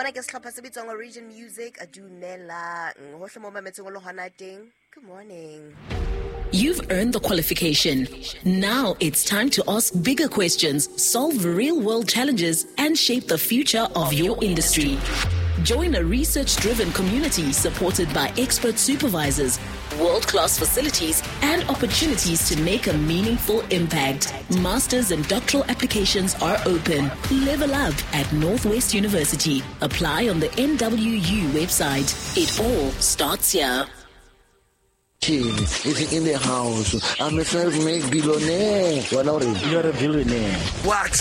Mona ke sehlopha se bitswang Origin Music. Dumelang hohle mo mametseng o le hona teng. Good morning. You've earned the qualification. Now it's time to ask bigger questions, solve real world challenges, and shape the future of your industry. Join a research driven community supported by expert supervisors, world class facilities, and opportunities to make a meaningful impact. Masters and doctoral applications are open. Level up at Northwest University. Apply on the NWU website. It all starts here. Is in the house. I'm a self-made billionaire. You're a billionaire. What?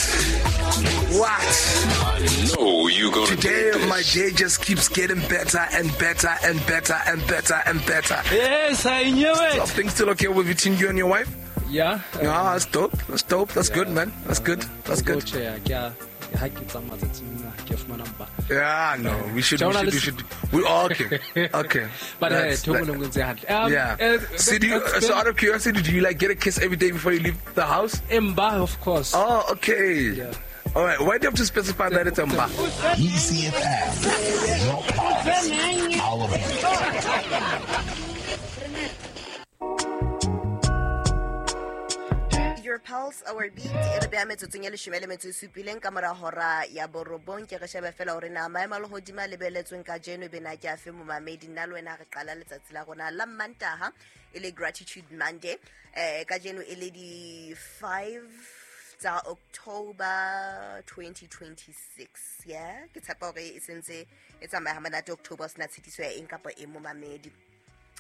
What? No, you gonna Today do this. my day just keeps getting better and better and better and better and better. Yes, I knew So it. things still okay with between you and your wife? Yeah. Yeah, that's dope. That's dope. That's good, man. That's good. That's good. Tjhe, ke a ha ke tsamaya tsatsing lena, ke fumana mpa. Yeah, no, we should, we should, we should. We okay, okay. But That's- ntho e nngwe le nngwe e ntse hantle. Yeah. So, do you, so out of curiosity, do you like get a kiss every day before you leave the house? Mba, of course. Oh, okay. Yeah. All right. Why do you have to specify that it's a mba? ECFM. Your pulse. Our beat. Your pulse, our beat. E re beha metsotsong e leshome le metso e supileng ka mora hora ya borobong. Ke re shebe fela hore na maemo a lehodimo a lebeletsweng kajeno e be na ke afe momamedi. Nna le wena re qala letsatsi la rona la Mantaha e le Gratitude Monday. Kajeno e le di 5 tsa October 2026. Yeah, ke tshepa hore e sentse e tsamaya ha monate October, o sena tshitiso ya eng kapa eng momamedi.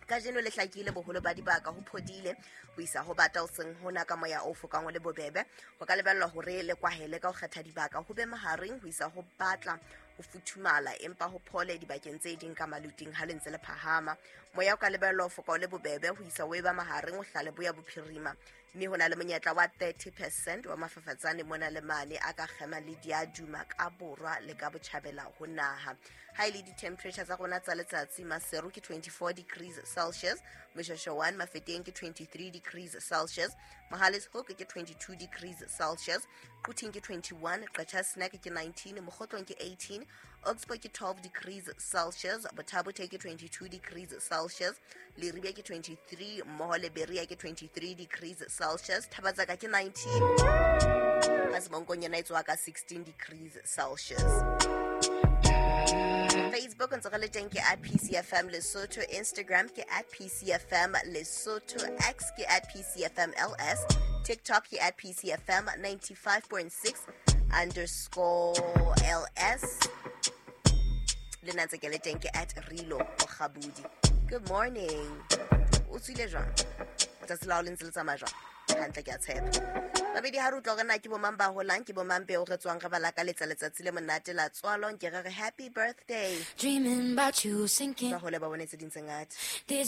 Kajeno le hlakile boholo ba dibaka ho phodile ho isa ho bata ho seng hona ka moya o fokang o le bobebe. Ho ka lebellwa hore le kwahele ka ho kgetha dibaka ho be mahareng ho isa ho batla ho futhumala, empa ho phole dibakeng tse ding ka maluting ha le ntse le phahama. Moya o ka lebellwa ho foka o le bobebe ho isa ho eba mahareng ho hlale boya bophirima, mme ho na le monyetla wa 30% wa mafafatsane mona le mane a ka kgema le diaduma ka borwa le ka botjhabela ho naha. Ha e le di-temperature tsa rona tsa letsatsi, Maseru ke 24 degrees Celsius, Moshweshwe 1 Mafeteng ke 23 degrees Celsius, Mohale's Hoek ke 22 degrees Celsius, Quthing ke 21, Qacha's Nek ke 19, Mokhotlong ke 18, Oxford ke 12 degrees Celsius, Botha-Bothe ke 22 degrees Celsius, Leribe ke 23, mmoho le Berea ke 23 degrees Celsius, Thabatsaka ke 19, Masemonkong yona e tswa ka 16 degrees Celsius. Facebook ntse re le teng ke at PCFM Lesotho, Instagram ke at PCFM Lesotho, X ke at PCFM LS, TikTok ke at PCFM 95.6 underscore LS. Le nna ntse ke le teng ke at Rilo Mokgabudi. Good morning. O tswile jwang? Tsatsi la hao le ntse le tsamaya jwang? Hantle, ke a tshepa. Babedi ha re utlwa hore na ke bomang ba holang, ke bomang beo re tswang re ba lakaletsa letsatsi le monate la tswalo, nke re re happy birthday. Dreaming about you sinking Ba hole ba bone tse ding tse ngata. this